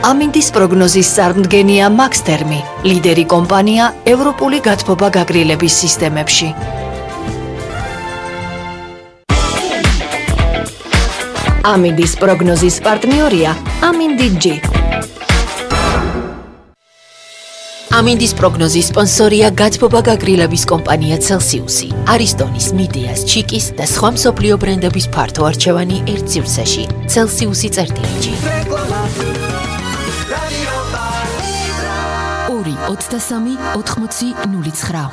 ამინდის პროგნოზის წარმდგენია მაქსთერმი, ლიდერი კომპანია ევროპული გათბობა გაგრილების სისტემებში. ამინდის პროგნოზის პარტნიორია ამინდი-G. ამინდის პროგნოზის სპონსორია გათბობა გაგრილების კომპანია Celsius-ი, არისტონის, მიდეას, ჩიკის და სხვა მსოფლიო ბრენდების ფართო არჩევანი ერთ სივრცეში. Celsius-ი წერტილიჯი. 2-23-80-09.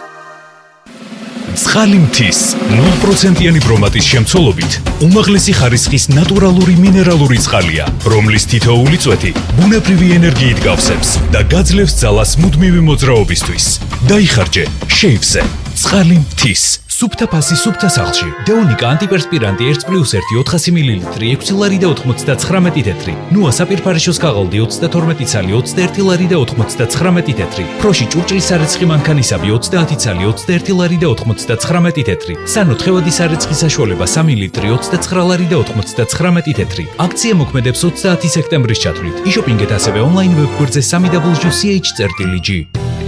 ცხალი მთის 0%-იანი ბრომატის შემცველობით უმაღლესი ხარისხის ნატურალური მინერალური წყალია, რომლის თითოეული წვეთი ბუნებრივი ენერგიით გავსებს და გაძლევს ძალას მუდმივი მოძრაობისთვის. დაიხარჯე შეივსე ცხალი მთის. სუფთა ფასი სუფთა სახლში. დეონიკა ანტიპერსპირანტი 1+1 400 მლ 6 ლარი და 99 თეთრი. ნუა საპირფარეშოს ქაღალდი 32 ცალი 21 ლარი და 99 თეთრი. ფროში ჭურჭლის სარეცხი მანქანისაბი 30 ცალი 21 ლარი და 99 თეთრი. სანო თხევადი სარეცხი საშუალება 3 ლიტრი 29 ლარი და 99 თეთრი. აქცია მოქმედებს 30 სექტემბრის ჩათვლით. იშოპინგეთ ასევე ონლაინ ვებგვერდზე www.ch.gr.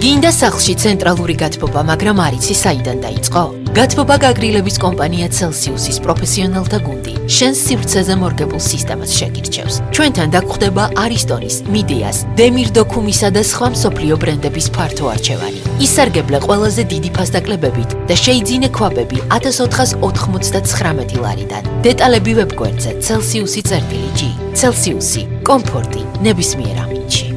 გინდა სახლში ცენტრალური გათბობა, მაგრამ არ იცი საიდან დაიწყო? გათბობა გაგრილების კომპანია Celsius-ის პროფესიონალთა გუნდი შენს სივრცეზე მორგებულ სისტემას შეგირჩევს. ჩვენთან დაგხვდება არისტონის, მიდეას, დემირდოქუმისა და სხვა მსოფლიო ბრენდების ფართო არჩევანი. ისარგებლე ყველაზე დიდი ფასდაკლებებით და შეიძინე ქვაბები 1499 ლარიდან. დეტალები ვებგვერდზე Celsius-ი. Celsius-ი, კომფორტი ნებისმიერ ამინდში.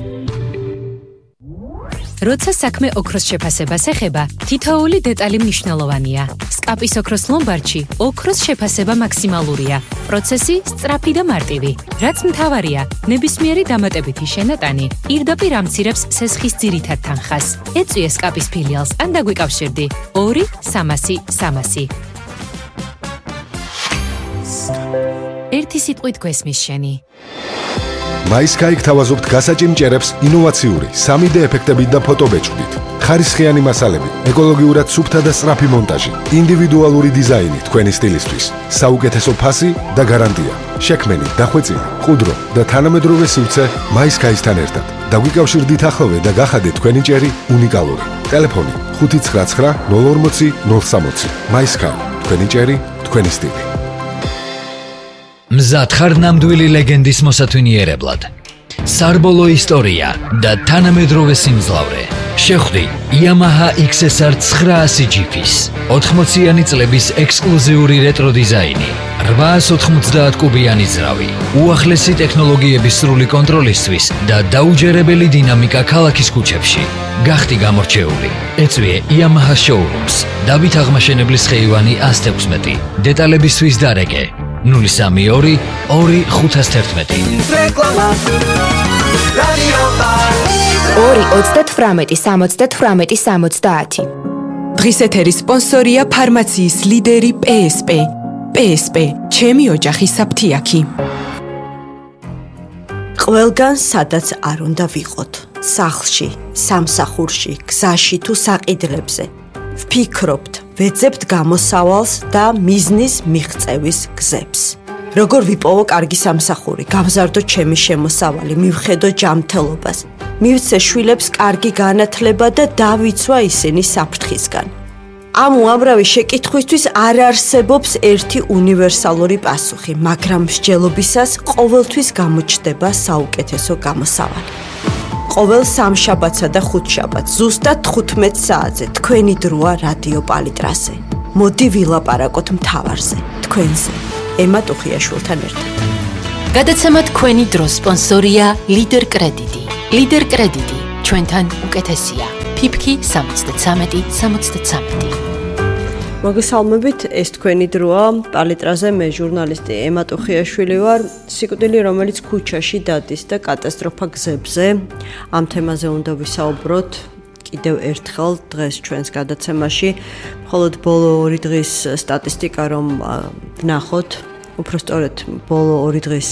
როცა საქმე ოქროს შეფასებას ეხება, თითოეული დეტალი მნიშვნელოვანია. სკაპის ოქროს ლომბარდში ოქროს შეფასება მაქსიმალურია. პროცესი სწრაფი და მარტივი. რაც მთავარია, ნებისმიერი დამატებითი შენატანი პირდაპირ ამცირებს სესხის ძირითად თანხას. ეწვიე სკაპის ფილიალს ან დაგვიკავშირდი 2-300-300. ერთი სიტყვით გვესმის შენი. MySky გთავაზობთ გასაჭიმჭერებს ინოვაციური 3D ეფექტებით და ფოტობეჭდით. ხარისხიანი მასალები, ეკოლოგიურად სუფთა და სწრაფი მონტაჟი, ინდივიდუალური დიზაინი თქვენი სტილისთვის, საუკეთესო ფასი და გარანტია. შექმენი, დახვეწილი, ყუდრო და თანამედროვე სივრცე MySky-სთან ერთად. დაგვიკავშირდით ახლოვე და გახადეთ თქვენი ჭერი უნიკალური. ტელეფონი 599 040 060. MySky, თქვენი ჭერი, თქვენი სტილი. მზად ხარ ნამდვილი ლეგენდის მოსათვინიერებლად. სარბოლო ისტორია და თანამედროვე სიმძლავრე. შეხვდი Yamaha XSR 900 GP-ს. 80-იანი წლების ექსკლუზიური რეტრო დიზაინი. 890 კუბიანი ძრავი. უახლესი ტექნოლოგიების სრული კონტროლისთვის და დაუჯერებელი დინამიკა ქალაქის ქუჩებში. გახდი გამორჩეული. ეწვიე Yamaha Showrooms. დავით აღმაშენებლის ხეივანი 116. დეტალებისთვის დარეკე 032 2511. 2-38-70-70. დღის ეთერის სპონსორია ფარმაციის ლიდერი PSP. PSP, ჩემი ოჯახის საფთიაქი. ყველგან სადაც არ უნდა ვიყოთ. სახლში, სამსახურში, გზაში თუ საყიდლებზე. ვფიქრობთ, ვეძებთ გამოსავალს და მიზნის მიღწევის გზებს. როგორ ვიპოვო კარგი სამსახური, გავზარდო ჩემი შემოსავალი, მივხედო ჯანმრთელობას, მივცე შვილებს კარგი განათლება და დავიცვა ისინი საფრთხისგან. ამ უამრავი შეკითხვისთვის არ არსებობს ერთი უნივერსალური პასუხი, მაგრამ მსჯელობისას ყოველთვის გამოჩნდება საუკეთესო გამოსავალი. ყოველ სამშაბათსა და ხუთშაბათს ზუსტად 15 საათზე თქვენი დროა რადიო პალიტრაზე. მოდი ვილაპარაკოთ მთავარზე, თქვენზე. ემა ტუხიაშვილთან ერთად. გადაცემა თქვენი დრო სპონსორია ლიდერ კრედიტი. ლიდერ კრედიტი ჩვენთან უკეთესია. ფიფქი 73-73. მოგესალმებით, ეს თქვენი დროა პალიტრაზე, მე ჟურნალისტი ემა ტუხიაშვილი ვარ. სიკვდილი, რომელიც ქუჩაში დადის და კატასტროფა გზებზე. ამ თემაზე უნდა ვისაუბროთ კიდევ ერთხელ დღეს ჩვენს გადაცემაში. მხოლოდ ბოლო 2 დღის სტატისტიკა რომ ვნახოთ, უпростоრეთ ბოლო 2 დღის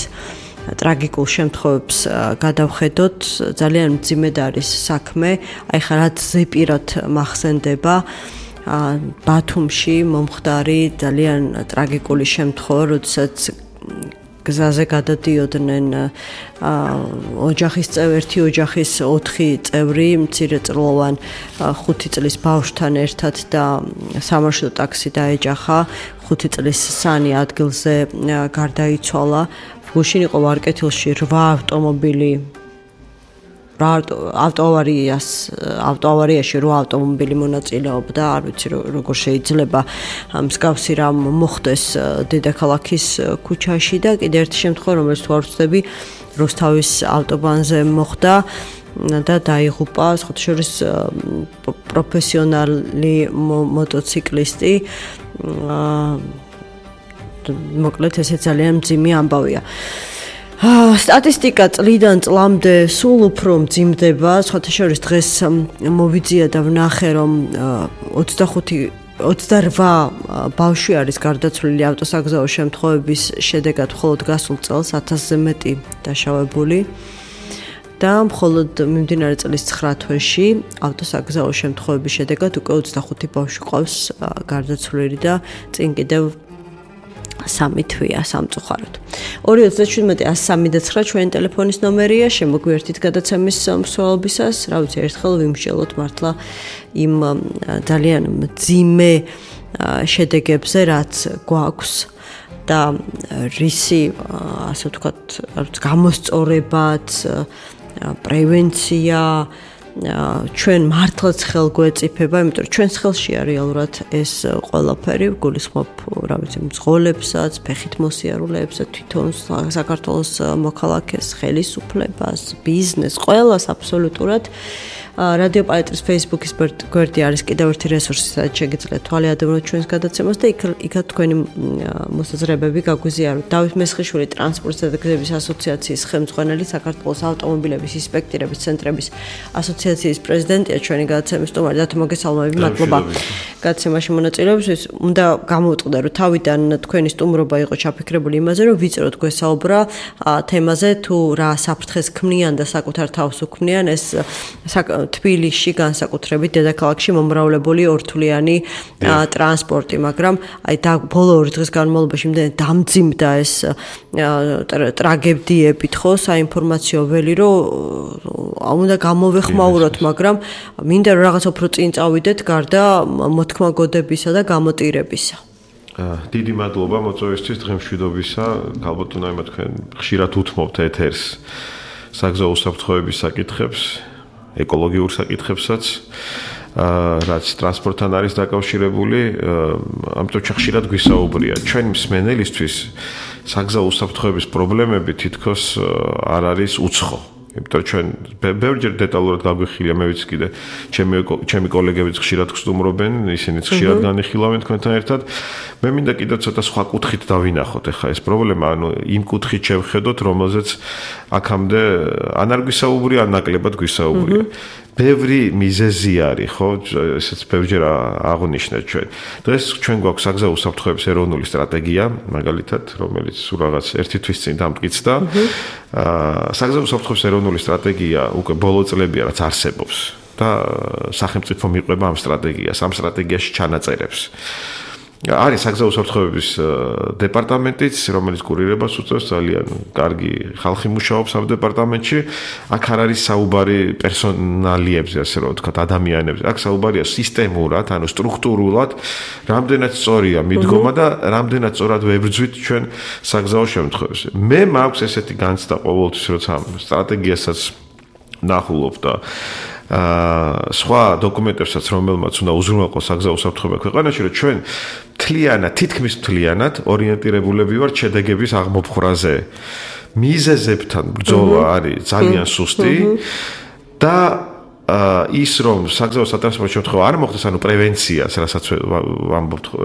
ტრაგიკულ შემთხვევებს გადავხედოთ, ძალიან მძიმედ არის საქმე. აი ხა რაც ზეპირად მახსენდება ბათუმში მომხდარი ძალიან ტრაგიკული შემთხვევა, როდესაც გზაზე გადადიოდნენ ერთი ოჯახის 4 წევრი მცირეწლოვან 5 წლის ბავშვთან ერთად და სამარშრუტო ტაქსი დაეჯახა 5 წლის სანი ადგილზე გარდაიცვალა გუშინ იყო ვარკეთილში 8 ავტომობილი ავტოავარიაში 8 ავტომობილი მონაწილეობდა, არ ვიცი როგორ შეიძლება მსგავსი რამ მოხდეს დედაქალაქის ქუჩაში და კიდე ერთი შემთხვევა, რომელიც თუ არ ვცდები, რუსთავის ავტობანზე მოხდა და დაიღუპა შორის პროფესიონალი მოტოციკლისტი. მოკლედ ესე ძალიან მძიმე ამბავია. სტატისტიკა წლიდან წლამდე სულ უფრო მძიმდება, სხვათა შორის დღეს მოვიძია და ვნახე, რომ 28 ბავშვი არის გარდაცვლილი ავტოსაგზაო შემთხვევების შედეგად მხოლოდ გასულ წელს 1000-ზე მეტი დაშავებული და მხოლოდ მიმდინარე წლის 9 თვეში ავტოსაგზაო შემთხვევების შედეგად უკვე 25 ბავშვი ყავს გარდაცვლილი და წინ კიდევ 3 თვეა სამწუხაროდ. 237-103 ჩვენი ტელეფონის ნომერია, შემოგვიერთით გადაცემის მსვლელობისას, რა ვიცი, ერთხელ ვიმსჯელოთ მართლა იმ ძალიან მძიმე შედეგებზე, რაც გვაქვს და რისი, ასე ვთქვათ, გამოსწორებაც, პრევენცია ჩვენ მართლაც ხელგვეწიფება, იმიტომ რომ ჩვენს ხელშია რეალურად ეს ყველაფერი, გულისხმობ, რა ვიცი, მძღოლებსაც, ფეხით მოსიარულეებსაც, თვითონ საქართველოს მოქალაქეს, ხელისუფლებას, ბიზნესს, ყველას აბსოლუტურად. რადიო პალეტრის Facebook-ის გვერდი არის კიდევ ერთი რესურსი, სადაც შეგიძლიათ თვალე ადევნოთ ჩვენს გადაცემას და იქაც თქვენი მოსაზრებები გაგვიზიაროთ. დავით მესხიშვილი ტრანსპორტისა და გზების ასოციაციის ხელმძღვანელი, საქართველოს ავტომობილების ინსპექტირების ცენტრების ასოციაციის პრეზიდენტია, ჩვენი გადაცემის სტუმარი. დათო მოგესალმები, მადლობა გადაცემაში მონაწილეობისთვის. უნდა გამოვწყდა, რომ თავიდან თქვენი სტუმრობა იყო ჩაფიქრებული იმაზე, რომ ვიწროთ გვესაუბრა თემაზე, თუ რა საფრთხეს ქმნიან და საკუთარ თავს უქმნიან ეს თბილისში განსაკუთრებით დედაქალაქში მომრავლებული ორთვლიანი ტრანსპორტი, მაგრამ აი და ბოლო 2 დღის განმავლობაში იმდენად დამძიმდა ეს ტრაგედიებით ხო საინფორმაციო ველი, რომ უნდა გამოვეხმაუროთ, მაგრამ მინდა რომ რაღაც უფრო წინ წავიდეთ გარდა მოთქმაგოდებისა და გამოტირებისა. დიდი მადლობა მოწვევისთვის დღემშვიდობისა. ალბათ უნდა თქვენ ხშირად უთმობთ ეთერს საგზაო უსაფრთხოების საკითხებს. ეკოლოგიურ საკითხებსაც, რაც ტრანსპორტთან არის დაკავშირებული, ამიტომ ხშირად გვისაუბრია. ჩვენ მსმენელისთვის საგზაო უსაფრთხოების პრობლემები თითქოს არ არის უცხო. იმიტომ ჩვენ ბევრჯერ დეტალურად გაგვიხილია, მე ვიცი კიდე ჩემი კოლეგებიც ხშირად გსტუმრობენ, ისინიც ხშირად განიხილავენ თქვენთან ერთად. მე მინდა კიდევ ცოტა სხვა კუთხით დავინახოთ ახლა ეს პრობლემა, ანუ იმ კუთხით შევხედოთ, რომელზეც აქამდე ან არ გვისაუბრია, ან ნაკლებად გვისაუბრია. ბევრი მიზეზი არის, ხო, ესეც ბევრჯერ აღნიშნეთ ჩვენ. დღეს ჩვენ გვაქვს საგზაო უსაფრთხოების ეროვნული სტრატეგია, მაგალითად, რომელიც სულ რაღაც 1 თვის წინ დამტკიცდა. საგზაო უსაფრთხოების ეროვნული სტრატეგია უკვე ბოლო წლებია, რაც არსებობს და სახელმწიფო მიყვება ამ სტრატეგიას, ამ სტრატეგიაში ჩანაწერებს. არის საგზაო უსაფრთხოების დეპარტამენტიც, რომელიც კურირებას უწევს, ძალიან კარგი ხალხი მუშაობს ამ დეპარტამენტში. აქ არ არის საუბარი პერსონალიებზე, ასე რომ ვთქვათ, ადამიანებზე. აქ საუბარია სისტემურად, ანუ სტრუქტურულად, რამდენად სწორია მიდგომა და რამდენად სწორად ვებრძვით ჩვენ საგზაო შემთხვევებს. მე მაქვს ესეთი განცდა ყოველთვის, როცა ამ სტრატეგიასაც ნახულობ და სხვა დოკუმენტებსაც, რომელმაც უნდა უზრუნველყოს საგზაო უსაფრთხოება ქვეყანაში, რომ ჩვენ თითქმის მთლიანად ორიენტირებულები ვართ შედეგების აღმოფხვრაზე. მიზეზებთან ბრძოლა არის ძალიან სუსტი და ის რომ საგზაო სატრანსპორტო შემთხვევა არ მოხდეს, ანუ პრევენციას,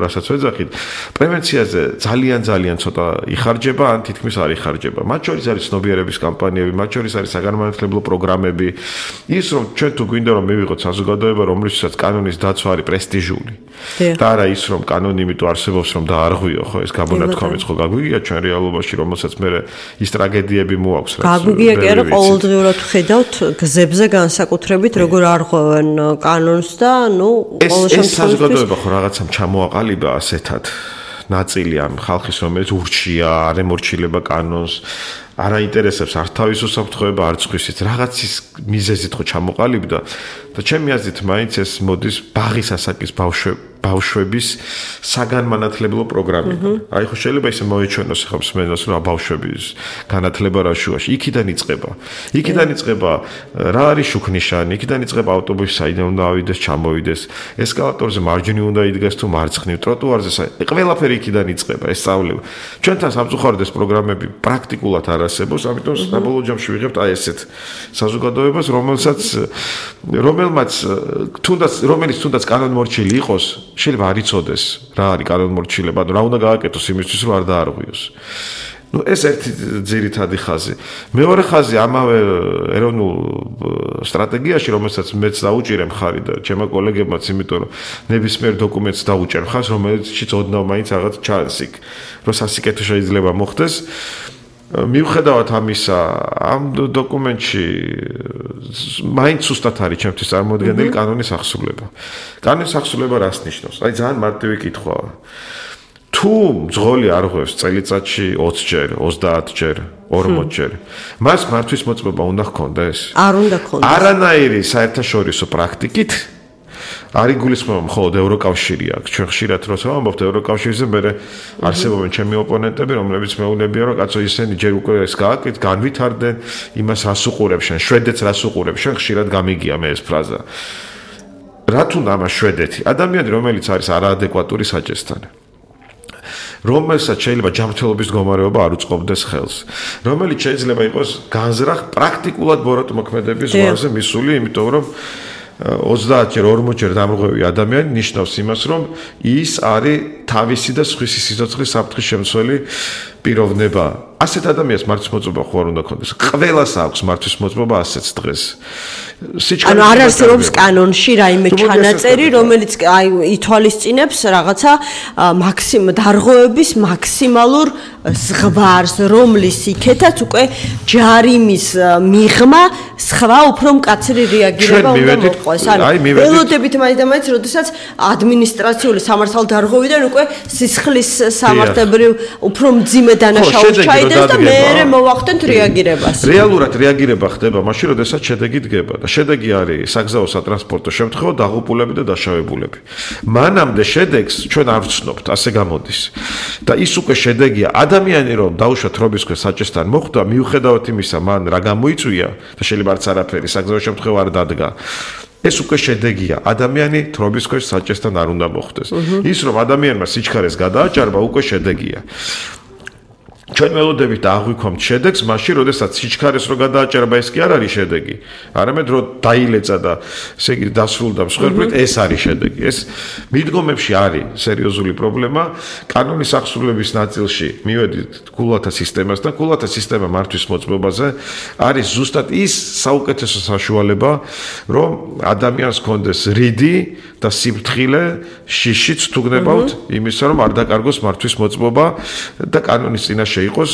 რასაც ვეძახით, პრევენციაზე ძალიან ცოტა იხარჯება, ან თითქმის არ იხარჯება. მათ შორის არის ცნობიერების კამპანიები, მათ შორის არის საგანმანათლებლო პროგრამები. ის რომ ჩვენ თუ გვინდა რომ მივიღოთ საზოგადოება, რომლისთვისაც კანონის დაცვა არის პრესტიჟული. და არა ის რომ კანონი იმიტომ არსებობს, რომ დაარღვიო, ხო, ეს გაბონათქვამიც ხო გაგვიგია ჩვენ რეალობაში, რომელსაც მე ის ტრაგედიები მოაქვს, რაც გაგვიგია კი არა, ყოველდღიურად ხედავთ გზებზე განსაკუთრებით როგორ არღვევენ კანონს და ნუ ყოველ შემთხვევაში ეს საზოგადოება ხო რაღაცამ ჩამოაყალიბა ასეთად ნაწილი ამ ხალხის, რომელიც ურჩია, არ ემორჩილება კანონს, არ აინტერესებს არ თავის უსაფრთხოება, არც ხვისით, რაღაცის მიზეზით ხო ჩამოყალიბდა და ჩემი აზრით მაინც ეს მოდის ბაღის ასაკის ბავშვების საგანმანათლებლო პროგრამიდან. აი ხო შეიძლება ისე მოეჩვენოს ხომ მსმენელს რომ ბავშვების განათლება რა შუაში. იქიდან იწყება რა არის შუქნიშანი, იქიდან იწყება ავტობუსი საიდან უნდა ავიდეს, ჩამოვიდეს, ესკალატორზე მარჯვნივ უნდა იდგეს თუ მარცხნივ, ტროტუარზე ყველაფერი იქიდან იწყება ეს სწავლება. ჩვენთან სამწუხაროდ ეს პროგრამები პრაქტიკულად არ არსებობს, ამიტომ საბოლოო ჯამში ვიღებთ აი ესეთ საზოგადოებას, რომელიც თუნდაც კანონმორჩილი იყოს, შეიძლება არ იცოდეს რა არის კანონმორჩილება, რა უნდა გააკეთოს იმისთვის, რომ არ დაარღვიოს. ეს ერთი ძირითადი ხაზი. მეორე ხაზი ამავე ეროვნულ სტრატეგიაში, რომელსაც მეც დაუჭირე მხარი და ჩემო კოლეგებმაც, იმიტომ რომ ნებისმიერ დოკუმენტს დაუჭერ მხარს, რომელშიც ოდნავ მაინც რაღაც ჩანს იქ, რომ სასიკეთო შეიძლება მოხდეს. მიუხედავად ამისა, ამ დოკუმენტში მაინც სუსტად არის ჩემთვის წარმოდგენილი კანონის ახსულება. კანონის ახსულება რას ნიშნავს? აი ძალიან მარტივი კითხვაა. თუ მძღოლი არღვევს წელიწადში 20 ჯერ, 30 ჯერ, 40 ჯერ, მას მართვის მოწმობა უნდა ჰქონდეს? არ უნდა ჰქონდეს. არანაირი საერთაშორისო პრაქტიკით არ იგულისხმება მხოლოდ ევროკავშირი აქვს. ჩვენ ხშირად როცა ვამბობთ ევროკავშირზე, მე არსებობენ ჩემი ოპონენტები, რომლებიც მეუბნებიან, რომ კაცო ისინი ჯერ უკვე ეს განვითარდნენ, იმას რას უყურებ შენ, შვედეთს რას უყურებ შენ, ხშირად გამიგია მე ეს ფრაზა. რა თუნდა ამას შვედეთი? ადამიანი, რომელიც არის არაადეკვატური საჭესთან. რომელსაც შეიძლება ჯანმრთელობის მდგომარეობა არ უწყობდეს ხელს, რომელიც შეიძლება იყოს განზრახ პრაქტიკულად ბოროტმოქმედების ზღვარზე მისული, იმიტომ რომ 30 ჯერ 40 ჯერ დამრღვევი ადამიანი ნიშნავს იმას, რომ ის არის თავისი და სხვისი სიცოცხლის საფრთხის შემცველი პიროვნება. ასეთ ადამიანს მართვის მოწმობა ხო არ უნდა ქონდეს. ყველას აქვს მართვის მოწმობა ასეც დღეს. ანუ არ არსებობს კანონში რაიმე ჩანაწერი, რომელიც აი ითვალისწინებს რაღაცა დარღვევების მაქსიმალურ ზღვარს, რომლის იქეთაც უკვე ჯარიმის მიღმა სხვა უფრო მკაცრი რეაგირება უნდა მოყვეს. ანუ ველოდებით მაინც როდესაც ადმინისტრაციული სამართალდარღვევიდან უკვე სისხლის სამართლებრივ უფრო მძიმე დანაშაულს ჩაიდეს და მეერე მოვახდენთ რეაგირებას. რეალურად რეაგირება ხდება მაშინ, როდესაც შედეგი დგება და შედეგი არის საგზაო სატრანსპორტო შემთხვევა, დაღუპულები და დაშავებულები. მანამდე შედეგს ჩვენ არ ვცნობთ, ასე გამოდის. და ის უკვე შედეგია, ადამიანი რომ დაუშვათ რობის ქვეშ საჭესთან მოხვდა, მიუხედავად იმისა, მან რა გამოიწვია და შეიძლება არც არაფერი საგზაო შემთხვევა არ დადგა. ეს უკვე შედეგია, ადამიანი თრობის ქვეშ საჭესთან არ უნდა მოხვდეს. ის რომ ადამიანმა სიჩქარეს გადააჭარბა, უკვე შედეგია. ჩვენ ველოდებით აღვიქვამთ შედეგს, მაშინ, როდესაც სიჩქარეს რო გადააჭერება, ეს კი არ არის შედეგი. არამედ რო დაილეცა და ესე იგი დასრულდა მსხვერპლით, ეს არის შედეგი. ეს მიდგომებში არის სერიოზული პრობლემა. კანონის ახსულების ნაწილში მივედით გულათა სისტემასთან, გულათა სისტემა მართვის მოწმობაზე არის ზუსტად ის საუკეთესო საშუალება, რომ ადამიანს ჰქონდეს რიდი და სიფრთხილე შიშიც თუ გნებავთ იმისა, რომ არ დაკარგოს მართვის მოწმობა და კანონის წინაშე იყოს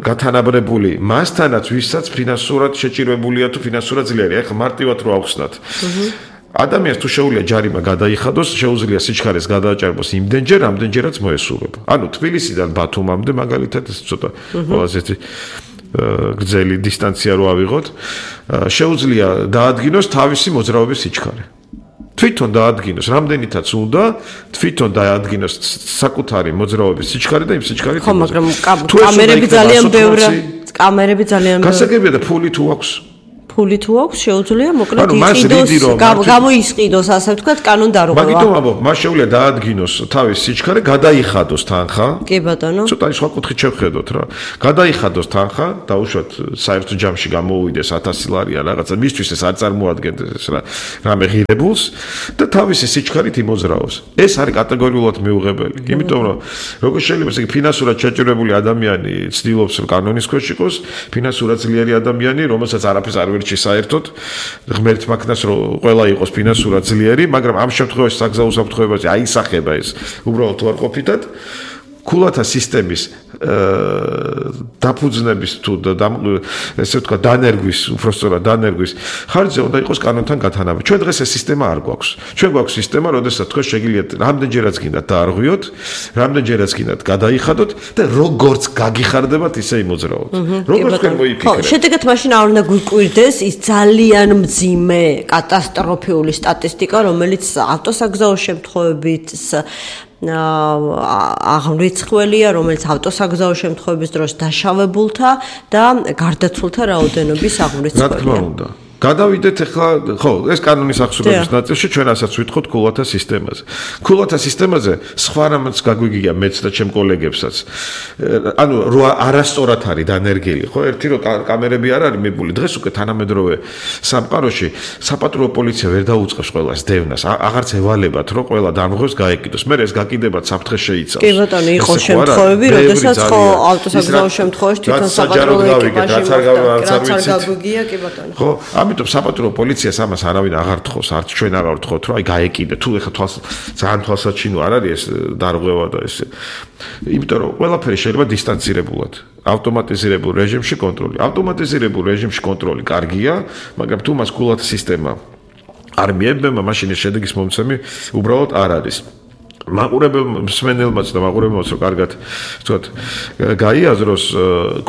გათანაბრებული მასთანაც, ვისაც ფინანსურად შეჭირებულია თუ ფინანსურად ძლიერი. ეხლა მარტივად რო ავხსნათ. ადამიანს თუ შეუძლია ჯარიმა გადაიხადოს, შეუძლია სიჩქარეს გადააჭარბოს იმდენჯერ, ამდენჯერაც მოესურვება. ანუ თბილისიდან ბათუმამდე მაგალითად ეს ცოტა ყველაზე გრძელი დისტანცია რო ავიღოთ, შეუძლია დაადგინოს თავისი მოძრაობის სიჩქარე. თვითონ დაადგინოს, რამდენითაც უნდა, თვითონ დაადგინოს საკუთარი მოძრაობის სიჩქარე და იმ სიჩქარით. ხო, მაგრამ კამერები ძალიან ბევრია. კამერები ძალიან ბევრია. გასაგებია და ფული თუ აქვს? ფული თუ აქვს, შეუძლია მოკლედ იყიდოს, გამოისყიდოს, ასე ვთქვათ, კანონდარღვევა. მაგიტომ ამბობ, მას შეუძლია დაადგინოს თავის სიჩქარე, გადაიხადოს თანხა. კი ბატონო. ცოტა სხვა კუთხით შევხედოთ რა. გადაიხადოს თანხა, დაუშვათ საერთო ჯამში გამოუვიდეს 1000 ლარი ან რაღაცა, მისთვის ეს არ წარმოადგენს რამე ღირებულს და თავისი სიჩქარით იმოძრაოს. ეს არის კატეგორიულად მიუღებელი. იმიტომ რომ როგორ შეიძლება ესე ფინანსურად შეჭირებული ადამიანი ცდილობს რომ კანონის ქვეშ იყოს, ფინანსურად ძლიერი ადამიანი, რომელსაც არაფერს არ ვერჩი საერთოდ, ღმერთ მაგნას რომ ყველა იყოს ფინანსურად ძლიერი, მაგრამ ამ შემთხვევაში საგზაო უსაფრთხოებაზე აისახება ეს უბრალოდ უარყოფითად. გულათა სისტემის დაფუძნების თუ ესე ვთქვა დანერგვის, უბრალოდ დანერგვის ხარჯზე უნდა იყოს კანონთან გათანაბი. ჩვენ დღეს ეს სისტემა არ გვაქვს. ჩვენ გვაქვს სისტემა, როდესაც თქვენ შეგიძლიათ რამდენჯერაც გინდათ დაარღვიოთ, რამდენჯერაც გინდათ გადაიხადოთ და როგორც გაგიხარდებათ, ისე იმოძრაოთ. როგორც თქვენ მოიფიქრეთ. შედეგად მაშინ არ უნდა გვიკვირდეს ის ძალიან მძიმე კატასტროფული სტატისტიკა, რომელიც ავტოსაგზაო შემთხვევებით აღრიცხველია, რომელიც ავტოსაგზაო შემთხვევების დროს დაშავებულთა და გარდაცვლთა რაოდენობის აღრიცხველია. რა თქმა უნდა. გადავიდეთ ახლა, ხო, ეს კანონის აღსრულების ნაწილში ჩვენ ასაც ვითხოვთ ქულათა სისტემაზე. ქულათა სისტემაზე სხვა რამაც გაგვიგია მეც და ჩემ კოლეგებსაც. ანუ არასწორად არის დანერგილი, ხო? ერთი რომ კამერები არ არის მიბული, დღეს უკვე თანამედროვე სამყაროში საპატრულო პოლიცია ვერ დაუწყებს ყველას დევნას. აღარც ევალებათ, რომ ყველა დამღებს გაეკიდოს. მე ეს გაკიდებათ საფრთხე შეიცავს. კი ბატონო, იყო შემთხვევები, როდესაც ხო ავტოსაგზაო შემთხვევაში თვითონ საპატრულო ეკიპაჟი გაგვიგია, კი ბატონო. ხო, ამიტომ საპატრულო პოლიციას ამას არავინ აღარ თხოვს, არც ჩვენ აღარ ვთხოვთ, რომ აი გაეკიდე. თუ ეხა ძალიან თვალსაჩინო არ არის ეს დარღვევა და ეს. იმიტომ რომ ყველაფერი შეიძლება დისტანცირებულად, ავტომატიზირებულ რეჟიმში კონტროლი. ავტომატიზირებულ რეჟიმში კონტროლი კარგია, მაგრამ თუ მას ქულათა სისტემა არ მიებება, მაშინ ეს შედეგის მომცემი უბრალოდ არ არის. მაყურებელს და მაყურებელს რომ კარგად ვთქვათ გაიაზროს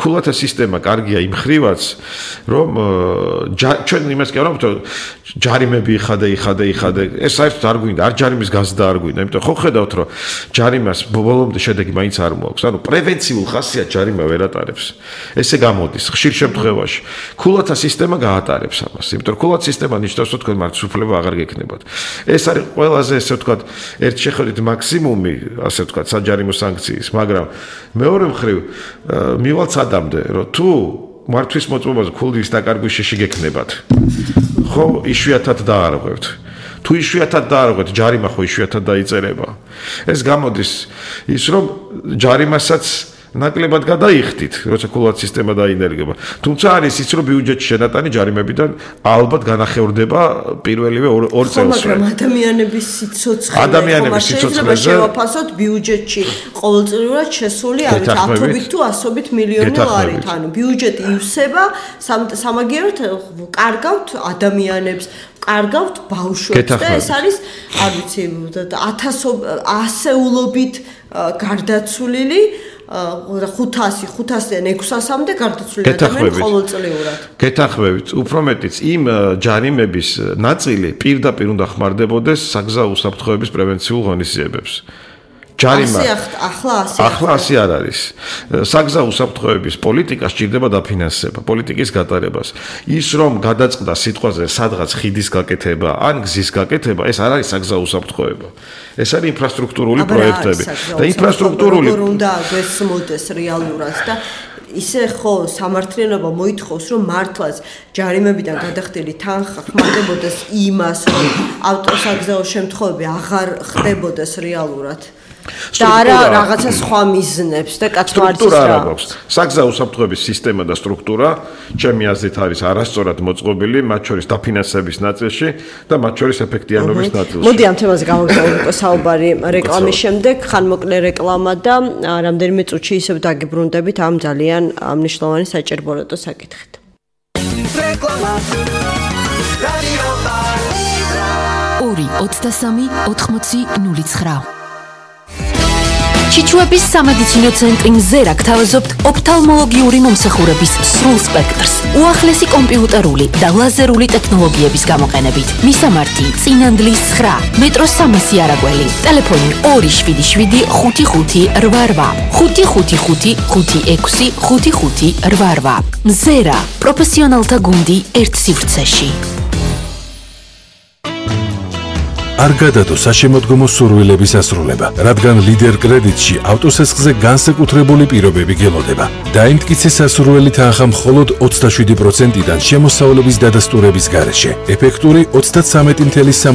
ქულათა სისტემა კარგია იმ ხრივაც რომ ჩვენ იმას კი არ ვამბობთ ჯარიმები იხადე ეს საერთოდ არ გვინდა არ ჯარიმის გაზრდა არ გვინდა იმიტომ ხო ხედავთ რომ ჯარიმას ბოლომდე შედეგი მაინც არ მოაქვს ანუ პრევენციულ ხასიათს ჯარიმა ვერ ატარებს ესე გამოდის ხშირ შემთხვევაში ქულათა სისტემა გაატარებს ამას იმიტომ რომ ქულათა სისტემა ნიშნავს რომ თქვენ მარცხსუფლება აღარ გექნებათ ეს არის ყველაზე ესე ვთქვათ ერთ შეხედვით მაქსიმუმი, ასე ვთქვათ, საჯარიმო სანქციის, მაგრამ მეორე მხრივ მივალ სადამდე, რომ თუ მართვის მოწმობაზე ქულის დაკარგვის შეში გექნებათ, ხო, იშვიათად დაარღვევთ. თუ იშვიათად დაარღვევთ, ჯარიმა ხო იშვიათად დაიწერება. ეს გამოდის ის, რომ ჯარიმასაც ნაკლებად გადაიხდით, როცა ქულათა სისტემა დაინერგება. თუმცა არის ის, რომ ბიუჯეტში შენატანი ჯარიმებიდან ალბათ განახევრდება პირველივე 2 წელს. მაგრამ ადამიანების სიცოცხლეზე შევაფასოთ ბიუჯეტში ყოველწლიურად შესული არის 10-ობით თუ 100-ით მილიონი ლარით. ანუ ბიუჯეტი ივსება, სამაგიეროდ კარგავთ ადამიანებს, კარგავთ ბავშვებს და ეს არის, არ ვიცი, 1000-ასეულობით გარდაცვლილი 500-დან 600-მდე გარდაცვლილი ადამიანი ყოველწლიურად. გეთანხმებით, უფრო მეტიც იმ ჯარიმების ნაწილი პირდაპირ უნდა ხმარდებოდეს საგზაო უსაფრთხოების პრევენციულ ღონისძიებებს. ჯარიმა ახლა ასე არ არის. საგზაო უსაფრთხოების პოლიტიკა სჭირდება დაფინანსება, პოლიტიკის გატარებას. ის რომ გადაწყდა სიტყვაზე სადღაც ხიდის გაკეთება, ან გზის გაკეთება, ეს არ არის საგზაო უსაფრთხოება. ეს არის ინფრასტრუქტურული პროექტები და ინფრასტრუქტურული როგორ უნდა გესმოდეს რეალურად და ისე ხო სამართლიანობა მოითხოვს რომ მართლაც ჯარიმებიდან გადახდილი თანხა ხმარდებოდეს იმას რომ ავტოსაგზაო შემთხვევები აღარ ხდებოდეს რეალურად. და არა რაღაცა სხვა მიზნებს და კაცმარცის რა აქვს. საგზაო უსაფრთხოების სისტემა და სტრუქტურა, ჩემი აზრით არის არასწორად მოწყობილი, მათ შორის დაფინანსების ნაწილში და მათ შორის ეფექტიანობის ნაწილში. მოდი ამ თემაზე გავაგზავნოთ საუბარი რეკლამის შემდეგ, ხანმოკლე რეკლამა და რამდენიმე წუთში ისევ დაგიბრუნდებით ამ ძალიან მნიშვნელოვანი საჭიროებო საკითხით. რეკლამა რადიო 2-23-80-09 ჩიჩუების სამედიცინო ცენტრი მზერა გთავაზობთ ოფთალმოლოგიური მომსახურების სრულ სპექტრს, უახლესი კომპიუტერული და ლაზერული ტექნოლოგიების გამოყენებით. მისამართი: წინანდლის 9, მეტროს 300 არაგველი, ტელეფონი 277 5588, 555 56 5588. მზერა, პროფესიონალთა გუნდი ერთ სივრცეში. არ გადადო საშემოდგომო სურვილების ასრულება, რადგან ლიდერ კრედიტში ავტოსესხზე განსაკუთრებული პირობები გელოდება. დაიმტკიცე სასურველი თანხა მხოლოდ 27%-დან შემოსავლების დადასტურების გარეშე. ეფექტური 33.3